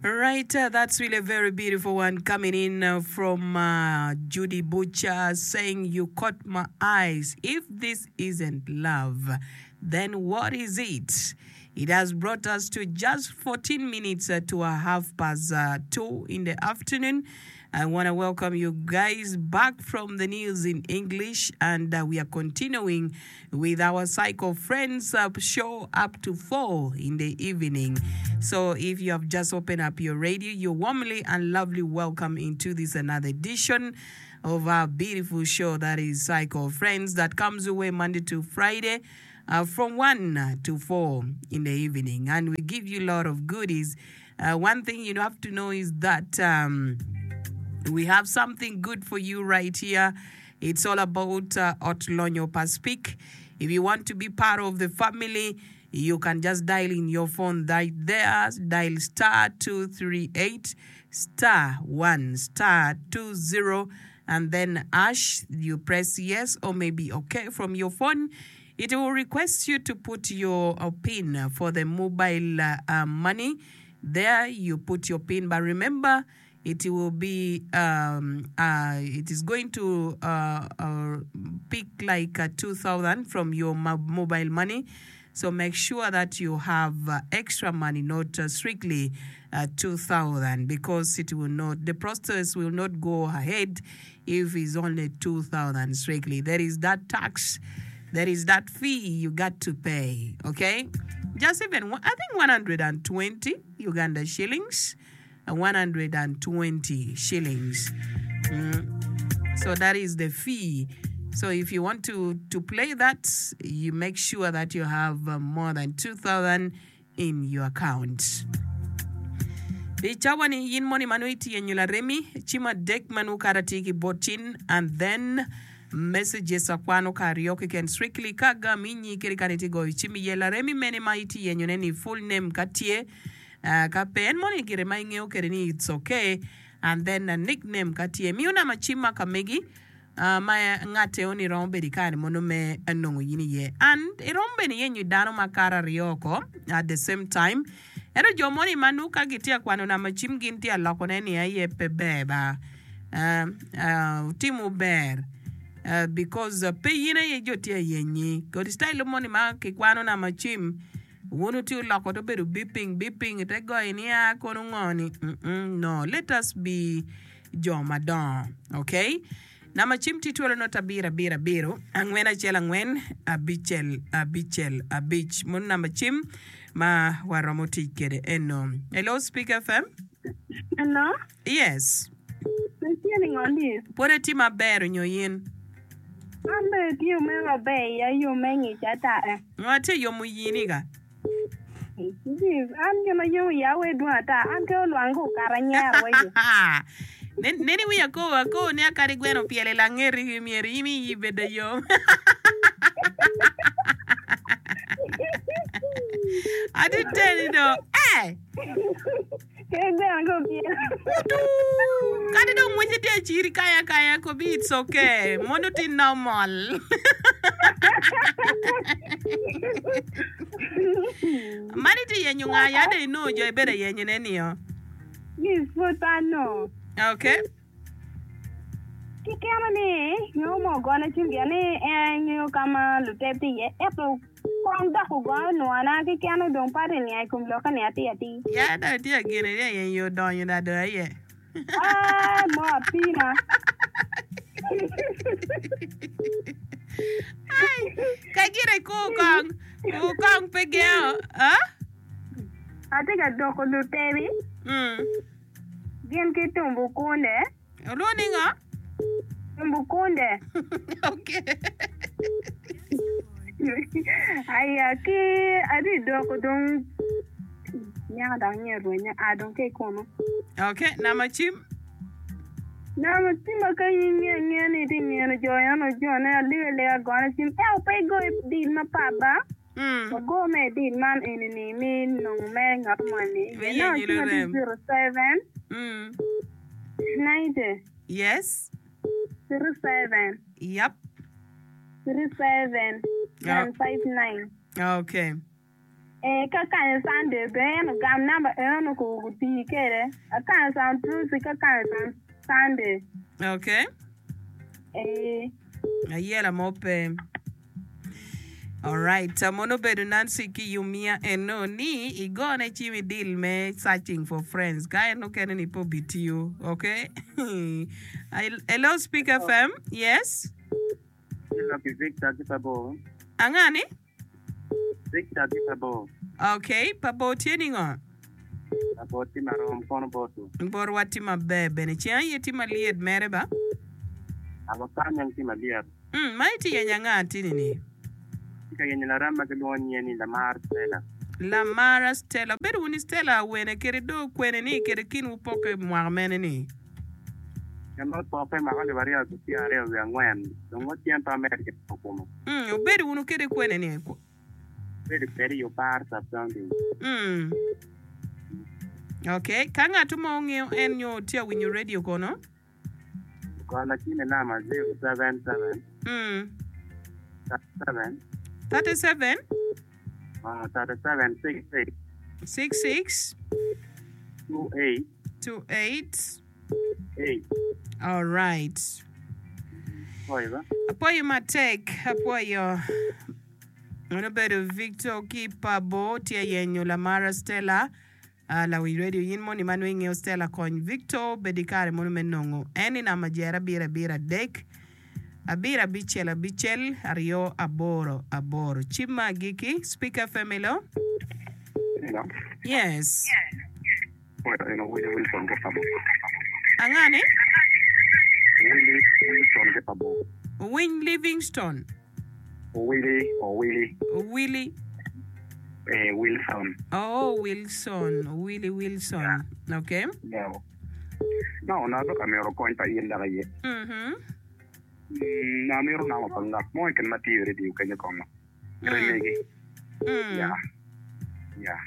Right, uh, that's really a very beautiful one coming in uh, from uh, Judy Butcher saying, You caught my eyes. If this isn't love, then what is it? It has brought us to just 14 minutes uh, to a half past uh, 2 in the afternoon. I want to welcome you guys back from the news in English, and uh, we are continuing with our Cycle Friends uh, show up to 4 in the evening. So if you have just opened up your radio, you're warmly and lovely welcome into this another edition of our beautiful show that is Cycle Friends that comes your way Monday to Friday. Uh, from 1 to 4 in the evening, and we give you a lot of goodies. Uh, one thing you have to know is that um, we have something good for you right here. It's all about uh, Ot Lonyo pa Speke. If you want to be part of the family, you can just dial in your phone right there. Dial star 238 star 1 star 20 and then hash. You press yes or maybe okay from your phone. It will request you to put your uh, pin for the mobile uh, uh, money. There you put your pin, but remember it will be um, uh, it is going to uh, uh, pick like uh, 2000 from your mo- mobile money so make sure that you have uh, extra money not uh, strictly uh, 2000 because it will not the process will not go ahead if it's only 2000 strictly there is that tax there is that fee you got to pay okay just even i think 120 uganda shillings 120 shillings. Mm. So that is the fee. So if you want to, to play that, you make sure that you have uh, more than 2,000 in your account. I cawa ni in moni ma nongo itye nyo laremi, cim adek ma nongo kara tye ki bot cin and then messages akwano ka aryo keken strictly ka agam inyi kadi kani itye goyo cim iye laremi mene ma itye yenyone ni full name ka tye Ka pe en moni gire ma ingeyo kwede ni it's okay and then nick name ka tye miyo namba cim ma ka megi ma ngat eo ni romo bedo ikare mono me nongo yin iye and iromo bene yenyo dano ma kato aryo oko at the same time ento jo moni ma nongo ka gitye ka kwano namba cim gin tye ka loko ne ni aye pe ber ba wutimo ber because pe yin aye jo tye ka yenyi kodi style moni ma kikwano namba cim Wun wutye wuloko to bedo beeping beeping ite goyo ni aa kono ngo ni mm no let us be jo madongo ok namba cim tye twelo not abiro abiro abiro angwen acel angwen abicel abicel abic mono namba cim ma waromo tic kede eno hello speak fm Hello, yes itye ni ngo ni? Pwod atye maber onyo in? An bene atye me maber iya yo me ngic ata eh. Ngo atye yomo yini ka? Jeez, an gin ma yomo iya wee dwong ata, an ke olwang ka okato anyero wa yo. Neni wiya akobo akobo ni akadi gweno opyelo i langeti ki myero in iyi bedo yom. Atye teni do, eh! Kadi dong ngwece tye aciri kaya kaya kobi it's okay mono tye normal. Mani tye yenyo nga ya dong inongo jo ibedo ayenyo ne nio. Yes, pud pe anongo. Okay. Kikeno ni nyo mo ogone cwiny gin ni en ngeyo ka ma luteb tye iye ento Kong dok ogoyo nwana keken odong pe atye niang i kom lokke ni atir atir. Ya dong itye ka gene ni aye nyo odonyo da dong aye. Aa mo apima. Ai, ka gire kur kong, kur kong pe gengo, ah? Atye ka doko lutebi Mm. gin ki tumbu kunde. Olwongo ni ngo? Mbukunde. Okay. Aya ki adi doko dong nyaka dok nye rwenye a dong ki kunu. Okay, nama cim. Nama cim ma ka in nge nge ni itye ngeno jo eno jone alega lega gone cim ento pe igo i deal mapat ba. Mm. Wago me deal man eni ni mi nongo mere ngat moni. Me Nongo yenyo cim ma tye lurem. 07 Mm. 90 Yes. 37 Ee, ka kanyo Sunday bene en ogam namba eno ku tii kede. Akanyo Sam Trucy ka kanyo Sam Sunday. Okay. Ee. Ayela mo pe. Alright, mono obedo Nancy ki Yumia eno ni igone cim i deal me searching for friends ka en okene ni pe obitiyo. Okay. Hello Speak FM. Yes. Hello, ki Victor ki Pabo. Anga ni? Victor ki Pabo. Okay, Pabo tye ningo? Pabo tye marom kono botu. Botwa tye maber bene. Ceng aye tye malyet mere ba? Abo kany ang tye malyet. Mm, ma itye yenyo anga atini ni? Atye ka yenyo larem ma gilwongo nyinge ni Lamar Stella. Lamara Stella. Obedo wunu Stella awene kede do kwene ni kede kinwu poke mwaka mene ni? Gin ma opoke mwaka alip aryo ki pyeraryo wiye angwen dong wa cen pe amedo ki loko kome. Mm, obedo wunu kede kwene ni? Obedo kwede i Opar Sub County. Mm. Okay, ka ngat mo ongeyo en nyo tye awinyo radio kono? Gona cim i namba 077 Mm. 37 37 37 66 66 28 28 8. Alright. Apwoyo ba. Apwoyo matek, apwoyo. En obedo Victor ki Pabo tye yenyo Lamara Stella. Ah, lawiny radio in moni ma nongo ingeyo Stella kony Victor bed i kare mono me nongo en i namba jer abiro abiro adek abiro abicel abicel aryo aboro aboro. Cim ma agikki, Speak FM hello. Hello. Yes. Oyo eno Willie Wilson ki Pabo. Anga ni? Willie Wilson ki Pabo. Owiny Livingstone. Owili, Owili. Owili. Eh, Wilson. Oh, Wilson. Owili Wilson. Yeah. Okay. Yeah. No, na dok amito kony pa in dok aye. Mhm. Mm, amito namo pa ngat mo keken ma tiyo i radio kenyo kongo. Remegi. Mm. Yeah. Yeah.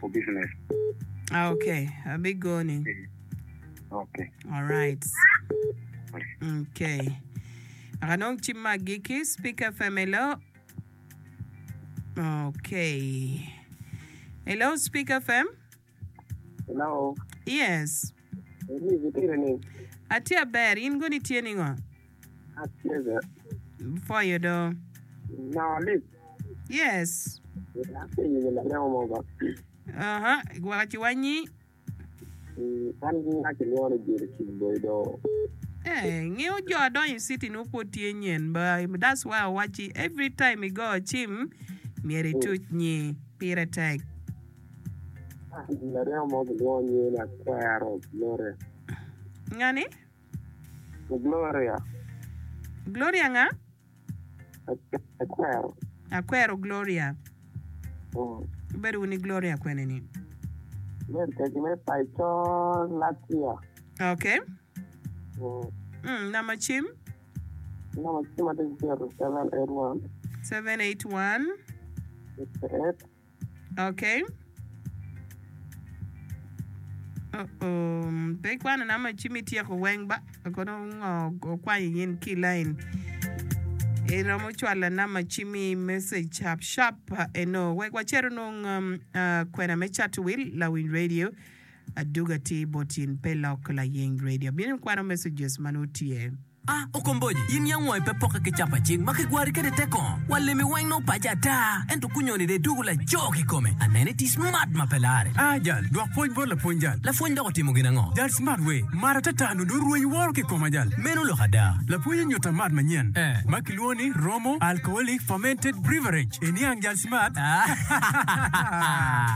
For business. Ah, okay. Abigoni. Eh. Okay. All right. Okay. Aka nong cim ma agikki, Speak FM, hello. Okay. Hello, Speak FM. Hello. Yes. Elise, itye ni? Atye aber, in goni tye ningo? Atye ber. Pwoyo do. No, Liz. Yes. Atye yenyo laremo mo ba. Aha, gwaka ci wanyi. An nga kilwongo ni Jerry Kigboy do. Eh, ngeyo jo adonyo i city nongo pwod tye nyen ba that's why awacci every time igo cim myero ituc nyi pire tek. Laremo mo kilwongo nyinge ni Akwero Gloria. Ngani? Gloria. Gloria nga? Akwero. Akwero Gloria. Ibedo wunu i Gloria kwene ni? Bedo kec me paco Latvia. Okay. Namba cim? Namba cim atye 0781. 781. 68. Okay. Oh oh, pe ikwano namba ci mi tyeko weng ba. Kono ngo okwanyo in ki line. Iromo cwalo namba ci mi message sharp sharp eno wek wacer onong um, uh, kwena me cato wil lawiny radio aduga ti bot in pe lok layeng radio. Bino kwano messages ma nongo tye. A Okomboji, in yam wangi pe pokke ki capa cing ma kigwari kwede te kongo. Wa lemi weng nongo paco ata, ento kunyoni dong idwogo laco kikome. Anene iti smart ma pe lare. A Jal, dwok pwoc bot lapwony jal. Lapwony dok otimo gin ango? Jal smart we, mar atata nongo dong rweny woro ki koma jal. Meno lok ada. Lapwony onyuta mat manyen Eh. ma kilwongo ni Romo Alcoholic Fermented Breverage. Iniang jal smart?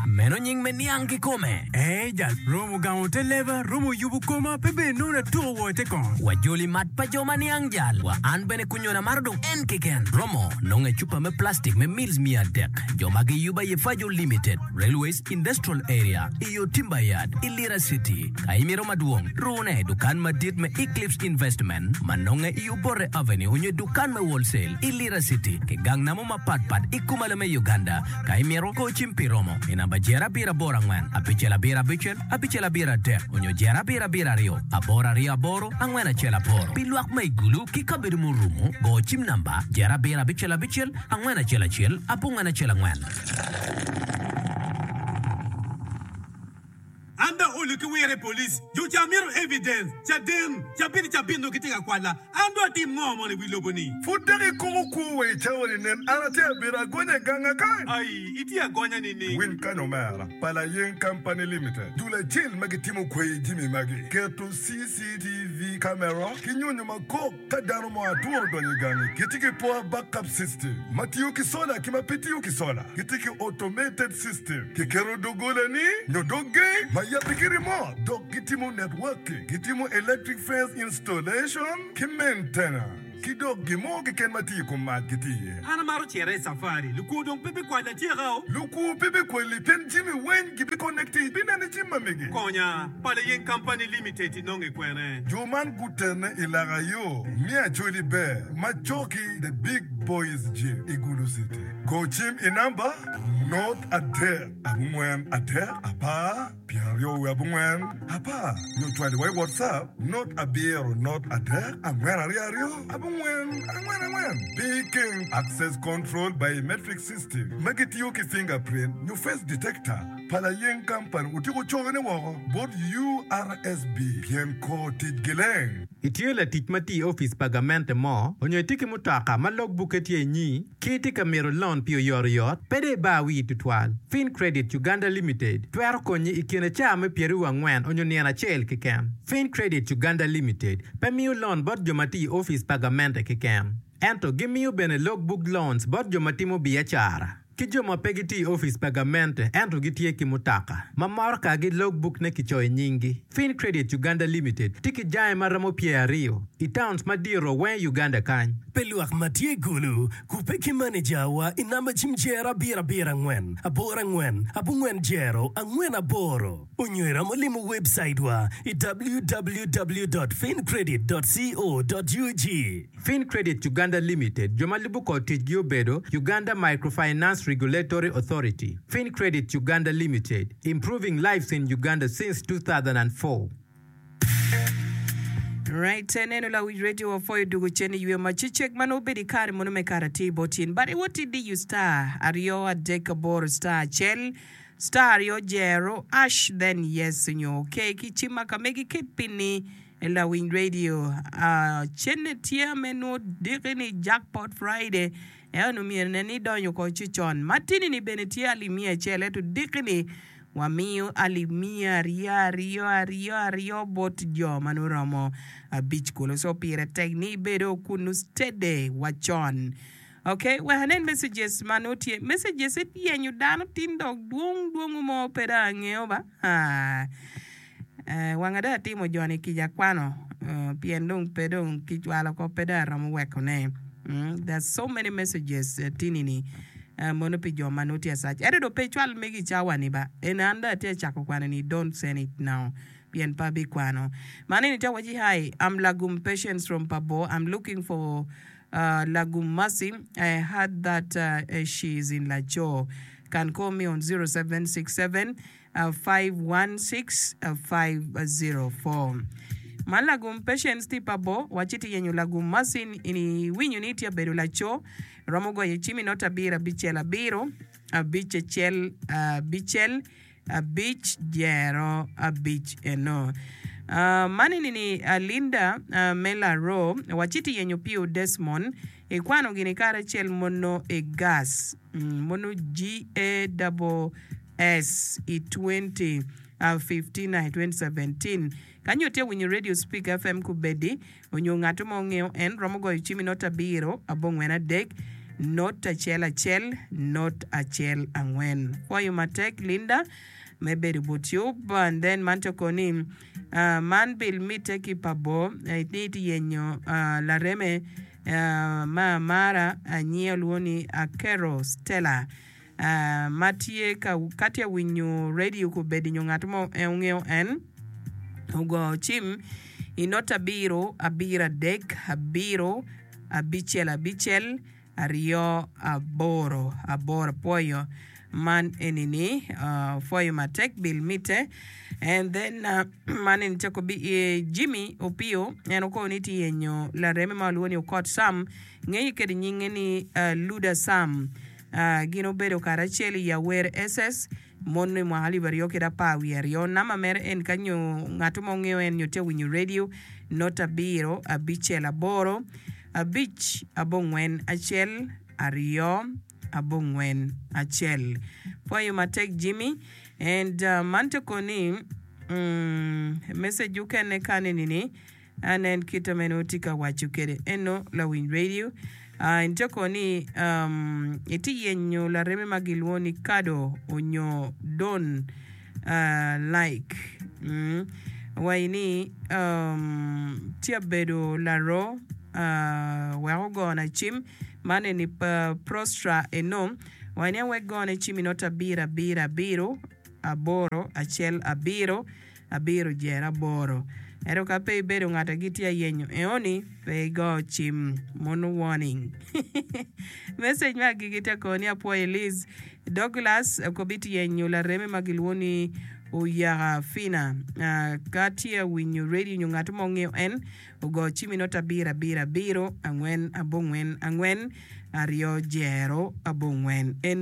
Meno nying me niang kikome. Ee jal, romo gamo te leba, romo yubo koma, pe bene nongo atuko woo ite kongo. Wajoli mat pa jo ma niang jal. Wa an bene kunyona maro dong en keken. Romo nongo i cupa me plastic me mils 300. Jo ma giyubo aye Fajo Limited, Railways Industrial Area, i yo Timber Yard, i Lira City. Ka imito madwong, rune i dukan madit me Eclipse Investment ma nonge i Obote Avenue onyo i dukan me Wholesale i Lira City ki gang namo mapat pat i kumalo me Uganda. Ka imito, go cim pi romo i namba jer abiro aboro angwen abicel abiro abicel abicel abiro adek onyo jer abiro abiro aryo aboro aryo aboro angwen acel aboro. Pi lwak ma i Gulu ki kabedo murumo, go cim namba jer abiro abicel abicel angwen acel acel abongwen acel angwen. Rabolo ki wire i polic. Jo ca mito evidence, caden, cabit ki cabit nongo gitye ka kwala. An dong atim ngo mono i wi lobo ni? Pud dok ikoko kwo wa i cawa ni nen an atye abedo agonya i ganga kany. Ai, itye agonya nining? Winy kany omera, pa Layeng Company Limited, dul acel ma gitimo kweyo jami magi, keto CCTV camera ki nyonyo ma kok ka dano mo atura odonyo i gangi. Gitye ki power backup system ma tiyo ki sola ki ma pe tiyo ki sola. Gitye ki automated system, kiketo doggola-ni nyo dog geng ma yabbe ki remote, dok gitimo networking, gitimo electric fence installation ki maintenance, ki dok gin mo keken ma tye i kom mac gitye iye. An amaro cito i cafari. Lukwo dong pe bikwala atyeka o. Lukwo pe bikwali pien jami weng gibiconnecti ibineno i cim ma megi. Konya, Pala Yeng Company Limited inonge kwene? Jo man gutene i laka yo me Acholi Ber ma cok-ki The Big Boys Gym i Gulu City. Go cim i namba, not adek abongwen adek apar pyeraryo wiye abongwen apar nyo cwali wa i WhatsApp not abiro not adek angwen aryo aryo abongwen angwen angwen. Pi keng Access Control Biometric System ma gitiyo ki fingerprint nyo face detector pa layeng kampani otyeko cone woko bot URSB pien kor ticgi leng. Itye latic ma tiyo i opic pa gamente mo onyo itye ki mutoka ma log bukke tye inyi ki itye ka mito lon pi oyotoyot, pe dong ibar wii tutwal. Fin Credit Uganda Limited twero konyi i kine caa me pyeraryo angwen onyo nino acel keken. Fin Credit Uganda Limited pe miyo lon bot jo ma tiyo i opic pa gamente keken, ento gimiyo bene log book loans bot jo ma timo biacara. Ki jo ma pe gitiyo i opic pa gamente ento gitye ki mutoka ma morokagi logbukne kicoyo nyinggi. Fin Credit Uganda Limited tye ki jange ma romo pyeraryo i towns madito weng i Uganda kany. Pi lwak ma tye i Gulu, kubbe ki manejawa i namba cim jero abiro abiro angwen aboro angwen abongwen jero angwen aboro onyo iromo limo webcaitwa i www dot fincredit dot co dot ug. Fincredit Uganda Limited, jo ma lubo kor ticgi obedo, Uganda Microfinance Regulatory Authority, Fincredit Uganda Limited, improving lives in Uganda since 2004. Right, neno lawic radio wapwoyo dugo cen i yweyo macecek ma nongo obedo i kare mono me kare atir bot in. But iwot idiyo star aryo adek aboro star acel star aryo jero ash then yes nyo okay ki cim ma ka megi ket pin-ni Lawiny radio cene tye me nwo diki ni Jackpot Friday ento myero nen ni idonyo oko ci con. Matini ni bene tye alip miya acel ento diki ni wamiyo alip miya aryo aryo aryo aryo bot jo ma nongo romo abic kulu. So pire tek ni ibedo kunu steady wa con. Ok wek anen messages ma nongo tye. Messages yenyo dano tin dok dwong dwongo mo pe dong angeyo ba. Haa. Wanga dong atimo joni kica kwano pien dong pe dong kicwalo oko pe dong aromo wekone. There's so many messages tini ni mono pi jo ma nongo tye acac. Ento dong pe icwal megi i cawa ni ba. Eni an dong atye ka cako kwano ni don't send it now pien pe abikwano. Man eni tye awaci hi I'm Lagum Patience from Pabor I'm looking for Lagum Mercy I heard that she is in Laco can call me on 0767 516504 Man lagum Patience tye pa bor waci tye yenyo lagum Mercy in iwinyo ni tye abedo laco romo goyo cim i not abiro abicel abiro abic acel abicel abic jero abic eno. Man eni ni Linda me Laroo waci tye yenyo Pio Desmond ikwano gini karacel mono i gas mono GASS i 2015 i 2017 Ka nyo tye winyo Radio Speak FM kubedi onyo ngat mo ngeyo en romo goyo cim i not abiro abongwen adek not acel acel not acel angwen. Pwoyo matek Linda me bedo but yub and then man to koni man bil mite ki pa bor ni tye yenyo lareme me amara anyia olwongo ni Akero Stella. ma tye ka ka tye winyo radio kobedi nyo ngat mo en ongeyo en ogo cim i not abiro abiro adek abiro abicel abicel aryo aboro aboro pwoyo man eni ni pwoyo matek bil mite and then man eni cako bi Jimmy Opio en okobo ni tye yenyo lareme ma walwongo ni Okot Sam ngeye kede nyinge ni Luda Sam. Gin obedo karacel i Awer SS. Mono i mwaka alip aryo kede apar wiye aryo. Namba mere en ka nyo ngat mo ngeyo en nyo tye winyo radio not abiro abicel aboro abic abongwen acel aryo abongwen acel. Pwoyo matek Jimmy and man te koni message okene kani nini Anen kit ma en tye ka waco kwede eno lawiny radio. En tye kono ni etye yenyo lareme ma gilwongo ni Kado onyo Don like waci ni tye abedo laro wek ogona cim man eni Prostra eno waci ni awek gone cim i nota abiro abiro abiro aboro acel abiro abiro jero aboro. Ento ka pe ibedo ngat a gitye ayenyo eoni, pe igo cim mono warning. Message me agikki te kor ni apwoyo Liz Douglas okobit yenyo lareme ma gilwongo ni Oyaka Fina. Ka tye awinyo radio nyo ngat mo ngeyo en, ogo cim i nota abiro abiro abiro angwen abongwen angwen aryo jero abongwen.